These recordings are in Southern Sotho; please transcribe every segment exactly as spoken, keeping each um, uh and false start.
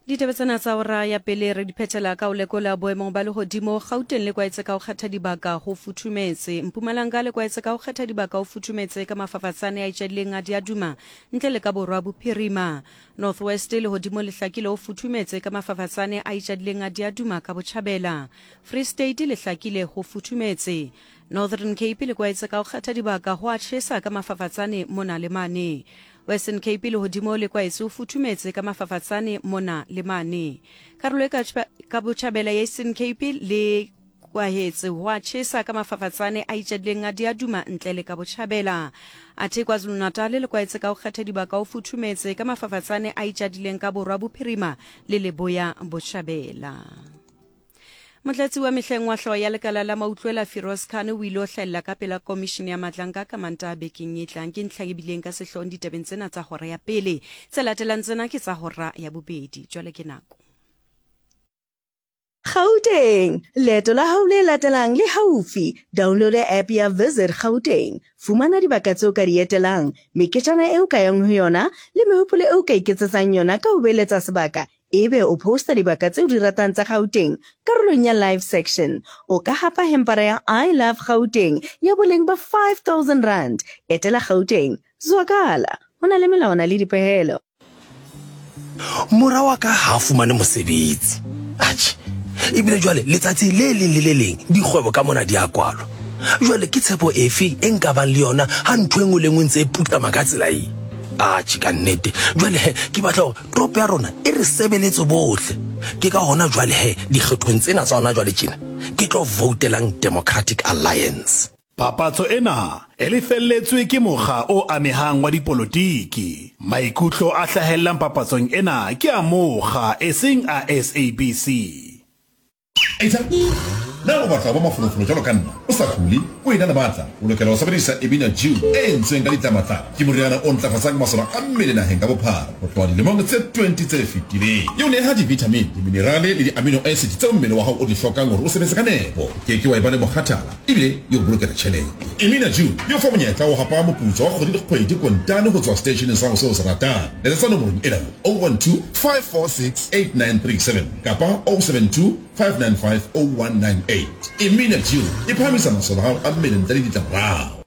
Ditaba tsena tsa hora ya pele re di phethela ka ho lekola boemong ba lehodimo Gauteng le kwaetse ka ho kgetha dibaka ho futhumetse. Mpumalanga le kwaetse ka ho kgetha dibaka ho futhumetse ka mafafatsane a itjadileng a diaduma ntle le ka borwa bophirima. North West lehodimo le hlakile ho futhumetse ka mafafatsane a itjadileng a diaduma ka botjhabela. Free State le hlakile ho futhumetse. Northern Cape le kwaetse ka ho kgetha dibaka ho a tjhesa ka mafafatsane mona le mane. Western Cape lehodimo le kwaetse o futhumetse ka mafafatsane mona le mane. Karolo e ka ka botjhabela ya Eastern Cape le kwahetse ho a tjhesa ka mafafatsane a itjadileng a diaduma ntle le ka botjhabela. Athe KwaZulu-Natal le kwaetse ka ho kgetha dibaka o futhumetse ka mafafatsane a itjadileng ka borwa bophirima le leboya botjhabela. Motlatsi wa mehleng wa hlooho ya lekala la mautlwela Firoz Khan o ile ho hlahella ka pela komishene ya Matlanka ka Mantaha bekeng e tlang. Ke ntlha e bileng ka sehloohong ditabeng tsena tsa hora ya pele. Tse latelang tsena ke tsa hora ya bobedi. Jwale ke nako. Gauteng, leeto la hao le latelang le haufi. Download app ya Visit Gauteng. Fumana dibaka tseo ka di etelang, meketjana eo ka yang ho yona le mehopolo eo ka iketsetsang yona ka ho beeletsa sebaka. Ebe o posta dibaka tseo di ratang tsa Gauteng karolong ya live section. O ka hapa hempara ya I Love Gauteng ya boleng ba five thousand rand. Etela Gauteng, zwakala. Ho na le melawana le dipehelo. Mora wa ka ha fumane mosebetsi. Atjhe, ebile jwale letsatsi le leng le le leng dikgwebo ka mona di a kwalwa. Jwale ke tshepo efe e nka bang le yona ha ntho e nngwe le nngwe ntse e putlama ka tsela e? Atjhe, ka nnete. Jwale he, ke batla hore toropo ya rona e re sebeletse bohle. Ke ka hona jwale he, dikgethong tsena tsa hona jwale tjena, ke tlo voutelang Democratic Alliance. Papatso ena e lefelletswe ke mokga o amehang wa dipolotiki. Maikutlo a hlahellang papatsong ena ke a mokga eseng a S A B C. Na o batla ho ba mafolofolo jwalo ka nna, o sa kule, o ena le matla, o lokela ho sebedisa Emina Dew e entsweng ka ditlamatlama. Ke moriana o ntlafatsang masole a mmele naheng ka bophara ho tloha dilemong tse twenty tse fetileng. E o neha di-vitamin, di-minerale le di-amino acid tseo mmele wa hao o di hlokang hore o sebetse ka nepo. O ke ke wa eba le mokgathala ebile e o bolokela tjhelete. Emina Dew e o fa monyetla wa ho hapa moputso wa kgwedi le kgwedi kontane ho tswa seteisheneng sa hao seo o se ratang. Letsetsa nomorong ena oh one two, five four six, eight nine three seven kapa oh seven two, five nine five, oh one nine eight. Emina Dew e phahamisa masole a hao a mmele ntle le ditlamorao.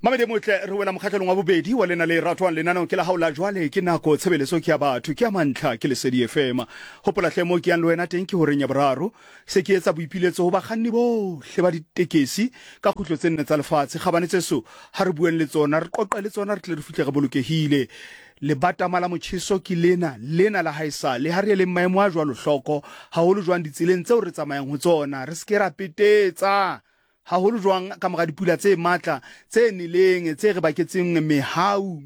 Mamedi motle re wela mokgatlong wa bobedi wa lena le ratwang lenaneo ke la hao la jwale ke nako tshebeletso ke ya batho ke ya mantlha ke Lesedi F M. Hopola hle mo ke yang le wena teng ke horeng ya boraro se ke etsa boipiletso ho bakganni bohle ba ditekesi ka kgutlo tse nne tsa lefatshe kgabane tseso ha re bueng le tsona re qoqe le tsona re tle re fihle re bolokehile. Lebatama la motjheso ke lena lena la haesale ha re eleng maemo a jwalo hloko haholo jwang ditseleng tseo re tsamayang ho tsona re se ke ra petetsa haholo jwang ka mora dipula tse matla tse neleng tse re baketseng mehau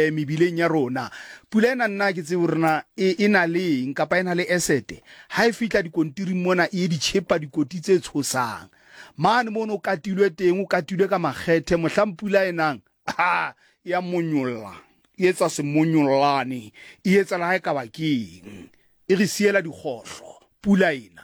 mebileng ya rona. Pula ena nna ke tsebe hore na e na le eng kapa e na le asset ha e fihla dikontiring mona e di tjhepa dikoti tse tshosang mane mono o katilwe teng o katilwe ka makgethe mohlang pula e nang ha ya monyolla e etsa semonyollane e etsa le ha e ka ba keng e re siela dikgohlo pula ena.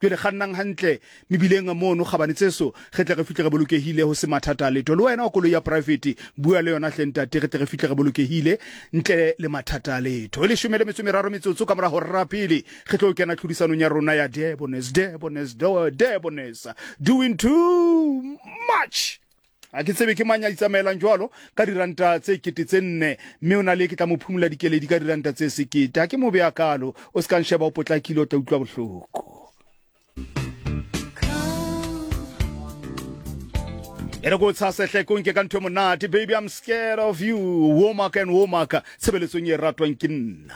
Jwale kgannang hantle mebileng mono kgabane tseso re tle re fihle re bolokehile ho se mathata a letho. Le wena wa koloi ya private bua le yona hle ntate re tle re fihle re bolokehile ntle le mathata a letho. E leshome le metso e meraro metsotso ka mora hora ya pele re tlo kena tlhodisanong ya rona ya Debonair, Debonair, Debonair doing too much. A ke tsebe ke mang ya itsamaelang jwalo ka diranta tse kete tse nne mme o na le ke tla mo phumula dikeledi ka diranta tse sekete. Ha ke mo beya kalo o se ka nsheba o potlakile o tla utlwa bohloko. E re ko tshase hle ko nke ka ntho e monate. Baby, I'm scared of you. Womack and Womack tshebeletsong e ratwang ke nna.